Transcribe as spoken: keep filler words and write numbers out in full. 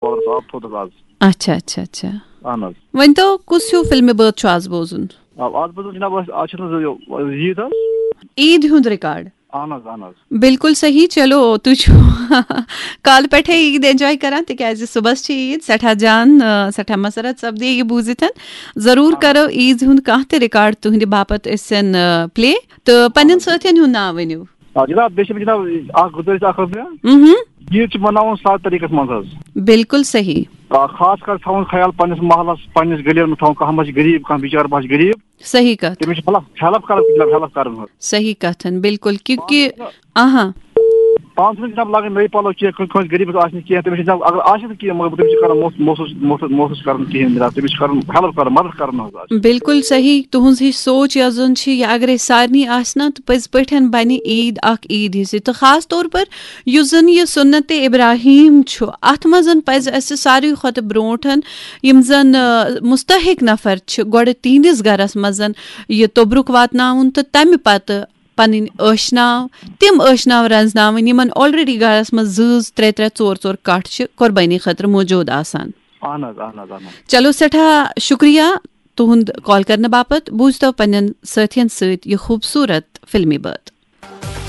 پاورس آب تھوٚدس آز۔ اچھا اچھا اچھا۔ اہن حظ۔ ؤنۍ تو، کُس ہیوٗ فلمہِ بٲتھ چھُ آز بوزُن؟ آ، آز بوزُن جناب، أسۍ آز چھِ نہٕ حظ یہِ عیٖد حظ۔ عیٖد ہُنٛد ریکارڈ۔ اہن حظ اہن حظ۔ بالکل صحیح۔ چلو، تُہۍ چھِو کالہٕ پٮ۪ٹھے عیٖد انجوائے کران، تِکیازِ صُبحس چھِ عیٖد۔ سٮ۪ٹھاہ جان، آ، سٮ۪ٹھاہ مسرت سپدے یہِ بوٗزِتھ۔ ضروٗر کرو عیٖد ہُنٛد کانٛہہ تہِ ریکارڈ تُہنٛدِ باپتھ أسۍ پلے، تہٕ پننٮ۪ن سٲتھٮ۪ن ہُنٛد ناو ؤنِو۔ آ جناب، بیٚیہِ چھِ مےٚ جناب اکھ گُزٲرِش اکھ حظ مےٚ۔ مہم۔ عیٖد چھِ مناوُن سادٕ طریٖقس منٛز حظ۔ بالکل صحیح۔ آ، خاص کر تھاوُن خیال پننِس محلس، پننِس گلیَن منٛز تھاوُن، کانٛہہ ما چھِ غریٖب، کانٛہہ بِچار ما چھِ غریٖب۔ صحیح کتھ۔ تٔمِس چھِ ہیلپ، ہیلپ کرُن، جناب، ہیلپ کرُن حظ۔ صحیح کتھن، بالکل، کیونکہ آہا۔ پانس چھُنہٕ جناب لاگٕنۍ نٔے پلو کینٛہہ، کٲنٛسہِ، کٲنٛسہِ غریٖبس آسہِ نہٕ کینٛہہ، تٔمِس چھِ جناب، اگر آسہِ تہِ کینٛہہ، مگر تٔمِس چھِ کران محس-، محسوٗس، محسوٗس، محسوٗس کرُن کِہیٖنۍ جناب، تٔمِس چھِ کرُن ہیلپ کرُن، مدد کرُن حظ آسہِ۔ بالکل صحیح، تُہنٛز ہِش سونچ یۄس زن چھِ، یہِ اگرے سارنٕے آسہِ نا، تہٕ پٔزۍ پٲٹھۍ بنہِ عیٖد اکھ عیٖد ہِش۔ تہٕ خاص طور پر یُس زن یہِ سُنت ابراہیم چھُ، اتھ منٛز پزِ اسہِ ساروی کھۄتہٕ برونٹھ یِم زن، آ، مستحق نفر چھِ، گۄڈٕ تِہنٛدِس گرس منٛز یہِ توٚبرُک واتناوُن تہٕ تمہِ پتہٕ پنٕنۍ ٲشناو، تِم ٲشناو رنزناوٕنۍ، یِمن آلریڈی گرس منٛز زۭز ترٛےٚ ترٛےٚ، ژور ژور کٹھ چھِ قۄربٲنی خٲطرٕ موجود آسان۔ اہن حظ، اہن حظ، اہن حظ۔ چلو، سٮ۪ٹھاہ شُکریہ تُہُنٛد کال کرنہٕ باپتھ۔ بوٗزتو پننٮ۪ن سٲتھین سۭتۍ یہِ خوٗبصوٗرت فلمی بٲتھ۔